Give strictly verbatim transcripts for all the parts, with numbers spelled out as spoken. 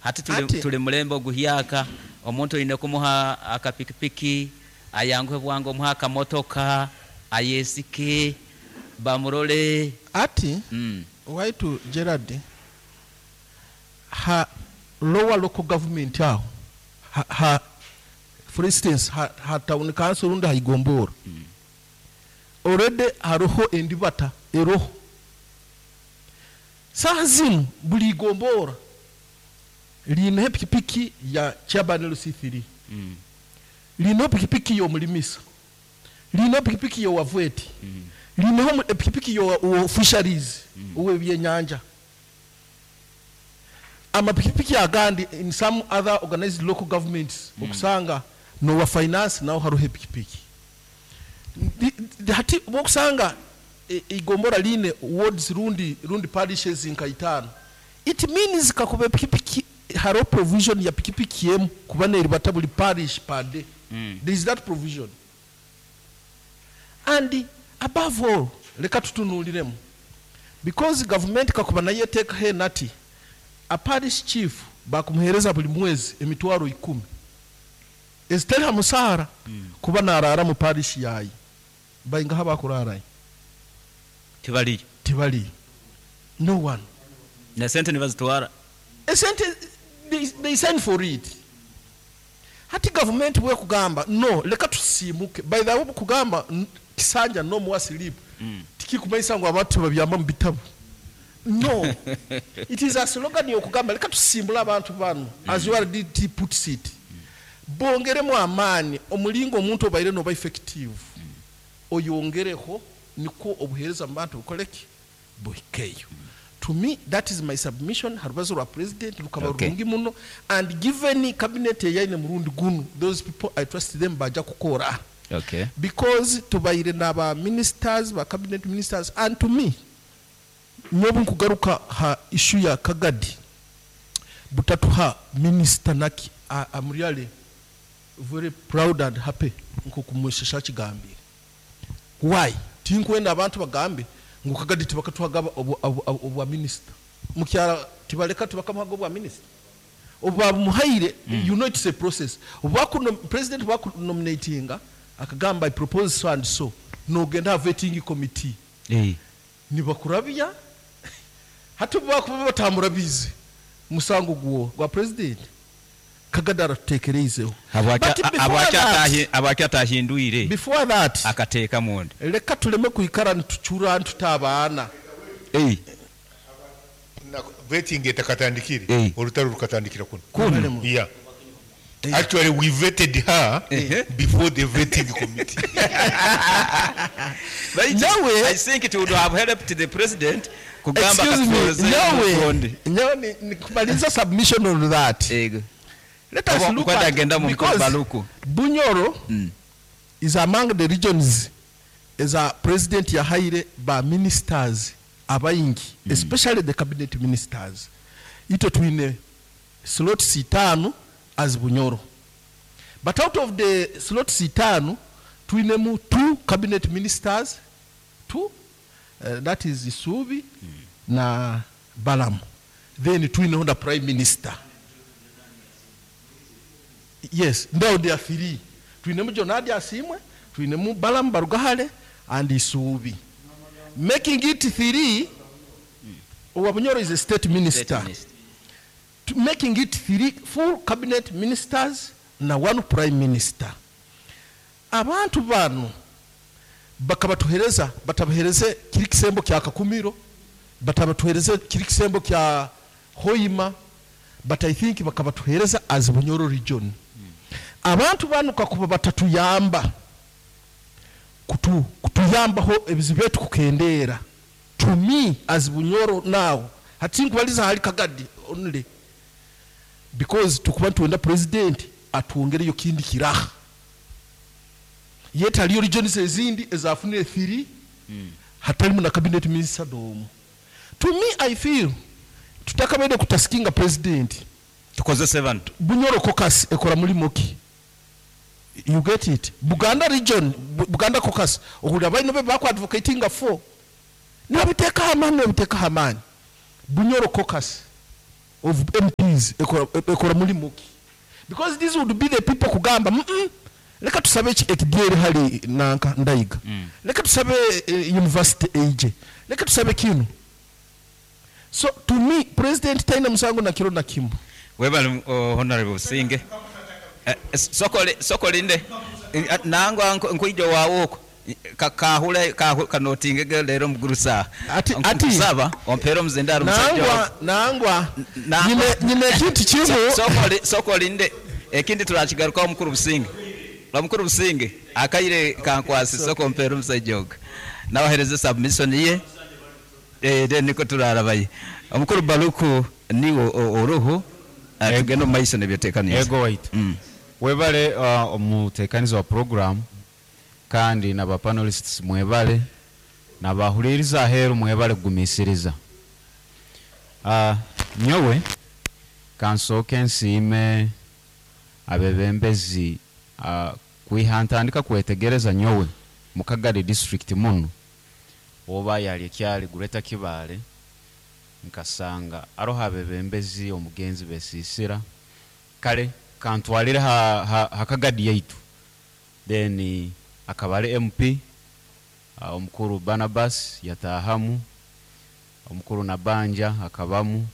Hati tuli, Ati- tuli mulembe oguhyaka. Omuntu oine kumuha akapikipiki ayanguhe bwangu, omuha akamotoka ayesike bamurole. Ati mm. Waitu Gerard, ha lower local government aho, ha, ha for instance ha, ha town council rundi haigombora, already hariho endibata eroho. Saha zinu buli igombora liineho epikipiki ya chairman L C three, Mm. liineho pikipiki y'omulimisa, liineho pikipiki y'owavweti, Mm. liineho mu- epikipiki yo fisheries, ow'ebyenyanja, amapikipiki agandi. In some other organized local governments okusanga nowa finance naho hariho epikipiki. Ndi- ndi- hati bwokusanga e- igombora line wards rundi rundi parishes nka itaano, it means kakuba epikipiki hariho provision ya pikipiki emu kuba neribata buli parish per day. Mm. There is that provision. And above all, leka tutunuuliremu, because government kakuba nayo eteekaho enati a parish chief bakumuheereza buli mwezi emitwaro ikumi ezitali ha musaara kuba naraara mu parish yayi, baingaha bakurarayo? Tibaliyo. Tibaliyo, no one. Na sente nibazitwara. Esente they, they sign for it. Hati gavumenti bwekugamba no, leka tusiimuke. By the way, bukugamba n- kisanja nomuwa slip, Mm. tikikumanyisa ngu abantu tebabyamba mu bitabu. No, it is a slogan yokugamba leka tusimbule abantu bano. As U R D T puts it, bongeremu amaani omulingo omuntu obaire noba effective, oyongereho nikwo obuheereza mu bantu bukoleki buhikeyo. To me, that is my submission. Harubazo rwa president rukaba Okay. rurungi muno, and given cabinet eyaine murundi gunu, those people, I trust them, baja kukora, okay because tubaire n'aba ministers, ba cabinet ministers. And to me, nyobu nkugaruka ha issue ya Kagadi butatuha minister naki, I- I'm really very proud and happy nkukumweshesha kigambire. Why? Tinkwenda abantu bagambe ngu Kagadi tibakatuhaga obwa- obwa obwa minister mukyara, tibaleka tibakamuhaga obwa minister obwamuhaire. You know it's a process. Obwakuno president bwakunominatinga akagamba, "I propose so and so," nogenda ha vetting committee, Eh. nibakurabya. Hati bakuba batamurabize, musango gwo gwa president Kagadi aratutekereizeho. Habwaki? But before Habwaki that- atahi- habwaki atahindwire before that, akateeka munda? Leka tuleme kwikara nitucura ntuta abaana. Eh. Na- vetting etakatandikire, Eh. olutalo lukatandikira kuno. Kuno. Yeah, actually we vetted her Eh. before the vetting committee. Nawe- I think it would have helped the president kugamba Excuse me, katuweze nyawe mukonde. Nyawe ni- ni kumaliza submission on that, Ego. let us Oba- look kwenda at agenda mu because Baluku. Bunyoro Mm. is among the regions as a president yahaire ba ministers abayingi, especially the cabinet ministers. Ito twine slots itaano as Bunyoro, but out of the slots itaano twinemu two cabinet ministers, two, uh, that is Isubi na Balamu. Then twineho na prime minister. Yes, now there are three. Twinemu Jonadi Asimwe, twinemu Balamu Barugahale and Isubi, making it three. Owa Bunyoro is a state minister. State minister. To making it three full cabinet ministers na one prime minister. Abantu bano bakabatuhereza, batabahereze kiri kisembo kya Kakumiro, batabatuhereze kiri kisembo kya Hoima, but I think bakabatuhereza as Bunyoro region. Abantu bano kakuba batatuyamba kutu, kutuyambaho ebizibu byetu kukendeera, to me as Bunyoro now, hati nkubaliza hali Kagadi only because tukuba ntuwenda president atwongereyo kindi kiraha, yet haliyo regions ezindi ezafunire three, hatalimu na cabinet minister n'omu. To me, I feel tutakabaire kutaskinga president. Tukozese bano. Bunyoro caucus ekora mulimo ki? You get it? Buganda region, Bu- buganda caucus, ohulira balina be baku advocatinga for, nibabiteekaho amaani, nibabiteekaho amaani. Bunyoro caucus of M Ps ekora ekora mulimu ki? Because these would be the people kugamba, mm -mm, leka tusabe eki- ekidyeri hali nanka Ndayiga, Mm. leka tusabe eh, university eije, leka tusabe kino. So to me, president taina musango na kiro na kimu. Webale, uh, Honorable Businge. Eh, sokole sokolinde. Eh, nangwa nku- nkwija wawe okwo kakahula kanotingege leero mugurusa. Ati- ati- Nkusaba ompere omuzindaro musajja. Nangwa, nangwa. Nangwa. nyine nyine ekintu kimu. Sokoli sokolinde, ekindi turakigarukaho. Omukuru Businge, omukuru Businge, akaire kankwasi, soko mpere omusajja ogwo nabahereze submission ye. Eh, then niko turarabaye. Omukuru Baluku, niwe o- oruhu. Eh, tugende omu maiso nebyotekaniza. Ego waitu. Mm. Webale, uh, omutekanizi wa program, kandi naba panelists mwebale, nabahuliriza aheeru mwebale kugumisiriza. uh, nyowe kansooke nsiime abebembezi. uh, kwiha ntandika kwetegereza nyowe mukagadi district muno oba yali ekyali Greater Kibaale, nkasanga aroho abebembezi omugenzi besiisira. Kale kantwalire ha, ha, hakagadi yaitu, then akaba ali M P, uh, omukuru Barnabas yatahamu, omukuru Nabanja akabamu,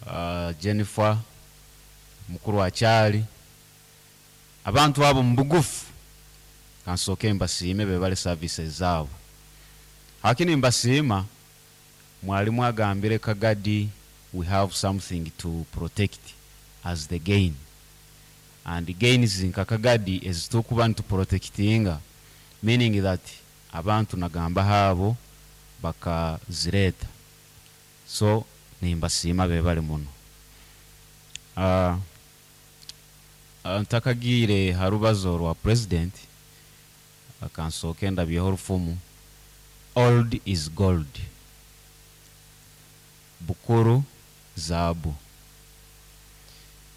uh, Jennifer, mukuru akyali. Abantu abo mu bugufu kansooke mbasiime, bebale services zaabo. Hakini mbasiima mwalimu agambire Kagadi we have something to protect as the gain, and gains nka Kagadi ezitukuba nituprotectinga, meaning that abantu nagamba haabo bakazireeta. So nimbasiima, bebale muno. uh, ntakagiire ha rubazo rwa president, akansooke ndabyeho orufumu, "Old is gold", bukuru zaabu.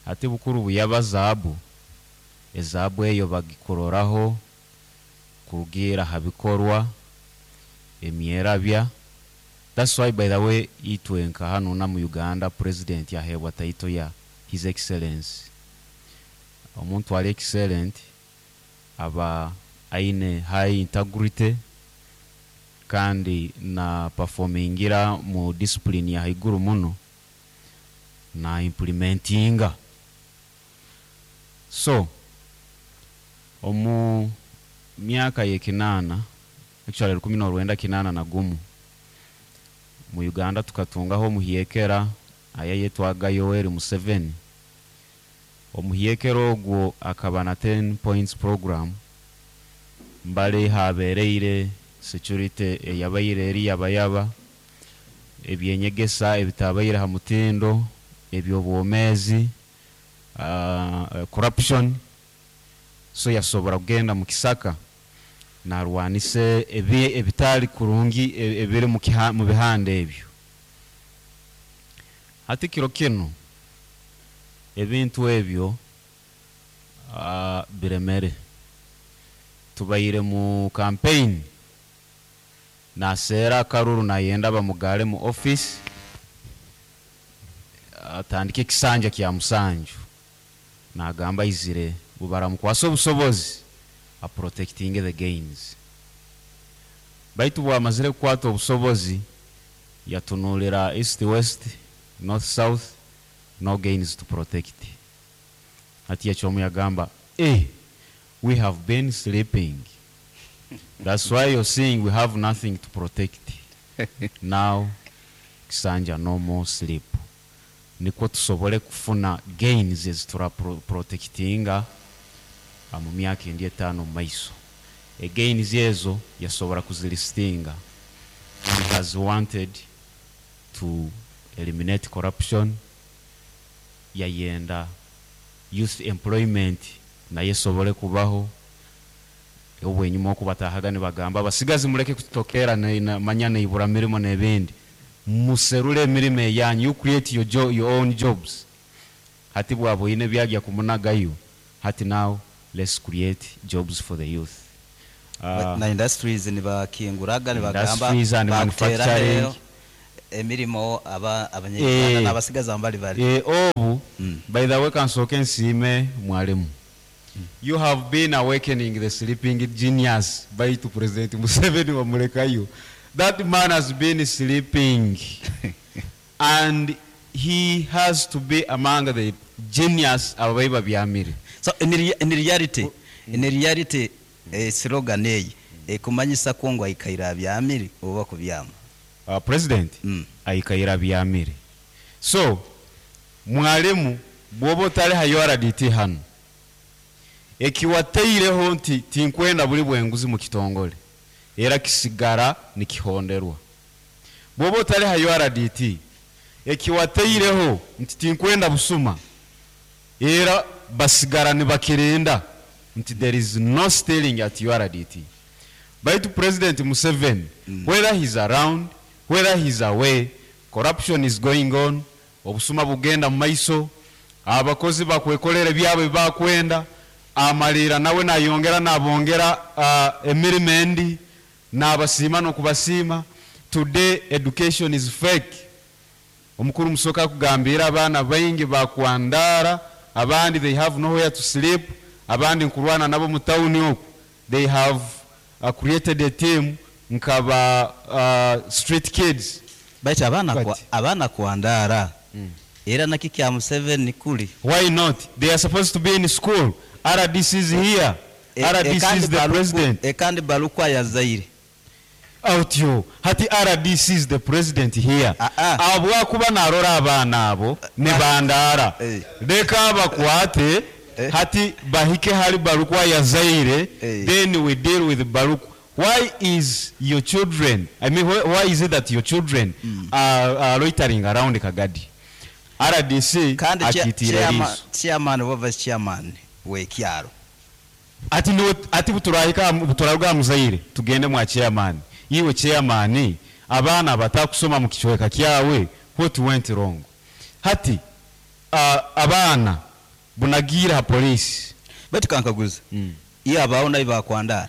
Ate bukuru buyaba zaabu, ezaabu eyo bagikuroraho kurugiira ha bikorwa emyerabya. That's why, by the way, itwe nka hano na mu Uganda, president yaheebwa title ya His Excellence. Omuntu ali excellent aba aine high integrity kandi na performingira mu discipline ya haiguru muno na implementinga. So omu myaka yekinaana, actually rukumi n'orwenda kinaana na gumu, mu Uganda tukatungaho omuhyekera ayayetwaga Yoweri Museveni. Omuhyekera ogwo akaba na ten points program. Mbale habereire security eyabaire eri yabayaba, ebyenyegesa ebitabaire ha mutindo, ebyobwomezi, uh, corruption. So yasobora kugenda mu kisaka narwanise ebi ebitali kurungi e- ebiri mu kiha- mu bihanda ebyo. Hati kiro kino ebintu ebyo uh, biremere. Tubaire mu campaign, naseera akaruru, nayenda bamugale mu office, atandike ekisanja kya musanju. Nagamba izire bubaramukwasa obusobozi aprotecting the gains. Baitu bwamazire kukwata obusobozi, yatunulira east, west, north, south, no gains to protect. Ati yakyomu yagamba, "Eh, we have been sleeping. That's why you're seeing we have nothing to protect now." Kisanja no more sleep, nikwo tusobole kufuna gains ezitura pro- protectinga ah, mu myaka endi etaano mu maiso. Egains ezo yasobora kuzilistinga. He has wanted to eliminate corruption, yayenda youth employment naye esobole kubaho. Obwenyuma okubatahaga nibagamba, "Abasigazi muleke kutokera ne- na- manya neibura mirimo n'ebindi, muserule emirimo eyanyu, you create your, jo your own jobs." Hati bwaboine byagya kumunagayo, hati now let's create jobs for the youth. Uh, na industries nibakinguraga, nibagamba Industries and bakutera manufacturing. heyo. Emirimo aba abanyarwanda Eh. n'abasigaza mbali bali. Eh, obu Mm. by the way, kansooke nsiime mwalimu. You have been awakening the sleeping genius. Baitu President Museveni wamulekayo. That man has been sleeping and he has to be among the genius ababayi babyamire. So in, rea- in reality in reality eh, slogan eyi ekumanyisa ko ngo ayikaira abyamire oba kubyama. uh, president Mm. ayikaira byamire. So mwalimu, bwoba otali ha U R D T hano, ekiwateireho nti tinkwenda buli bwenguzi mu kitongole, era kisigara nikihonderwa. Bwoba otali ha U R D T, ekiwateireho nti tinkwenda busuma, era basigara nibakirinda nti there is no stealing at U R D T. Baitu President Museveni, mm. whether he's around, whether he's away, corruption is going on. Obusuma bugenda mu maiso, abakozi bakwekolera byabwe bakwenda amalira, nawe nayongera nabongera uh, emirimu endi, nabasiima nokubasiima. Today education is fake. Omukuru Musoka akugambira abaana baingi bakwandara, abandi they have nowhere to sleep, abandi nkurwana nabo mu tawuni oku. They have uh, created a team nkaba uh, street kids. Baitu abaana But- kwa, abaana kwandara era naki kya Museveni kuli. Why not? They are supposed to be in school. R D C is here. E- R D C ekandi is the Baluku- president. Ekandi Balukwa yazaire. Outyo hati R D C is the president here. Ah, ah. Abwakuba narora abaana abo ne bandara, Eh. leka bakwate. Eh. Hati bahike hali Balukwa yazaire. Eh. Then we deal with Balukwa. Why is your children, I mean, why, why is it that your children are, are loitering around Kagadi? R D C Kandi chia- akitira chairman- eriiso. Chairman oba vice chairman w'ekyalo. Ati niwe ati buturahika buturaruga muzaire tugende mwa chairman. Iwe chairman, abaana batakusoma mu kichweka kyawe, what went wrong? Hati uh, abaana bunagira ha police. Baitu kankaguza, mm. iyo abawo nayo bakwandara?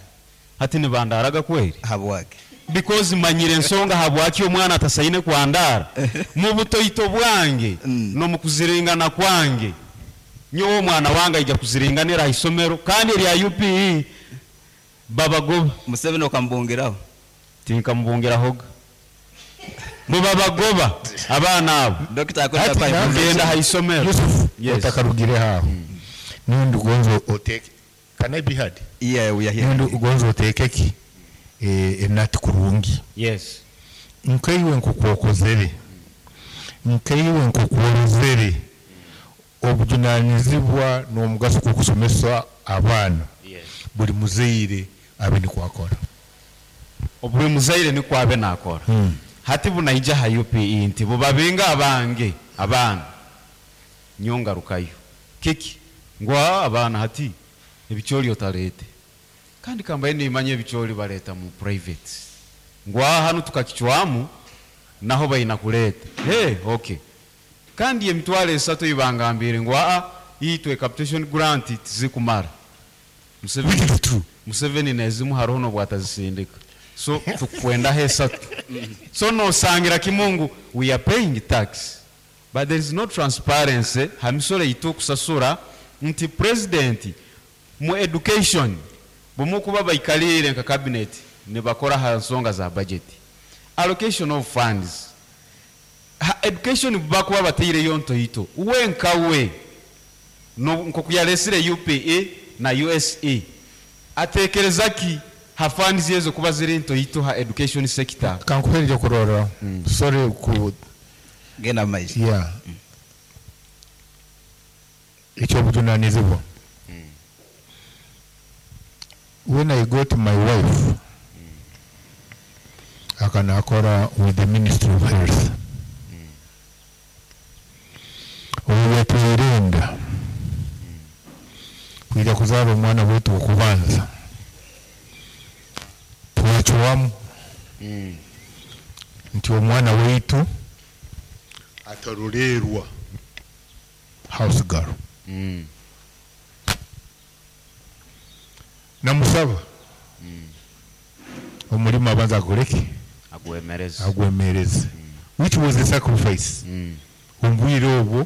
Hati nibandaraga kweri. Habwake? Because manyire ensonga habwaki omwana atasaine kwandara. Mu butoito bwange Mm. n'omu kuziringana kwange, nyowe omwana wange aija kuziringanira ha isomero kandi erya U P E babagoba. Museveni okambungiraho? Tinkamubungirahoga, mubabagoba abaana abo. Dokita. Ati Akwenda. nange- Kugenda ha isomero. Yusuf, Yes. otakarugire aho, nundi ugonze oteke, can I be heard? Yeah, we are here. Nundi ugonze oteke ki eh, enati kurungi. Yes. Nkaiwe nkukwokozere, nkaiwe nkukworozere obujunanizibwa n'omugaso gw'okusomesa abaana, Yes. buli muzaire abe nikwakora. Buli muzaire nikwo abe nakora. Hmm. Hati bunaija ha U P E nti bubabenga abange abaana, nyongarukayo kiki ngwa abaana hati ebikyoli otalete, kandi kambaye nimanya ebikyoli baleta mu private, ngwa hano tukakichwamu naho baina kuleta. Hey, okay, kandi emitwalo esatu ibangambire ngu aa itwe capitation grant tizikumara. Museveni, Which is true. Museveni nezimu hariho nobwatazisindika, so tukwendaho esatu. So nosangira kimungu we are paying tax but there is no transparency ha misoro yitu okusasura nti president mu education bwemukuba baikalire nka cabinet nibakora ha nsonga za budget, allocation of funds ha education, bakuba bateireyo ntoito we nkawe no- nkoku yalesire U P E na U S E, atekereza ki ha funds ezo kuba ziri ntoito ha education sector? Kankuherere kurora, sorry ku Genda maiso. Yeah, ekyobujunanizibwa, when I got my wife akanakora with the Ministry of Health, obu yatwirinda kwija kuzaara omwana wetu okubanza, twacwamu nti omwana waitu atarolerwa house girl. Mm. Namusaba omulimu abanza akoleki? Agwemereze. Agwemereze. Which was a sacrifice. Mm. Omu bwire obwo